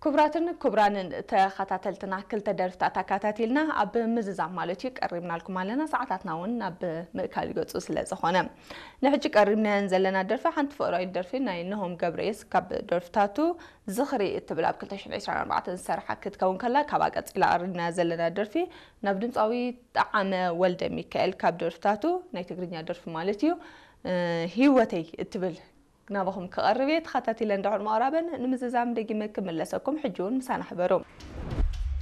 ክቡራትን ክቡራንን ተኸታተልትና፣ ክልተ ደርፍታት ኣካታቲልና ኣብ ምዝዛም ማለት እዩ ቀሪብናልኩም ኣለና። ሰዓታትና እውን ናብ ምእካል ይገጹ ስለ ዝኾነ፣ ንሕጂ ቀሪብናየን ዘለና ደርፊ ሓንቲ ፍቕራዊት ደርፊ ናይ ነሆም ገብረየስ ካብ ደርፍታቱ ዝኽሪ እትብል ኣብ ክልተ ሽሕን ዕስራን ኣርባዕተን ዝሰርሓ ክትከውን ከላ፣ ካብኣ ቀጺላ ኣቕሪብናያ ዘለና ደርፊ ናብ ድምጻዊ ጠዓመ ወልደ ሚካኤል ካብ ደርፍታቱ ናይ ትግርኛ ደርፊ ማለት እዩ፣ እ፣ ህይወተይ እትብል ናባኹም ክቐርብ እየ። ተኸታቲለ እንድሕር ምቕራበን ንምዝዛም ደጊመ ክምለሰኩም፣ ሕጂ እውን ምሳና ሕበሩ።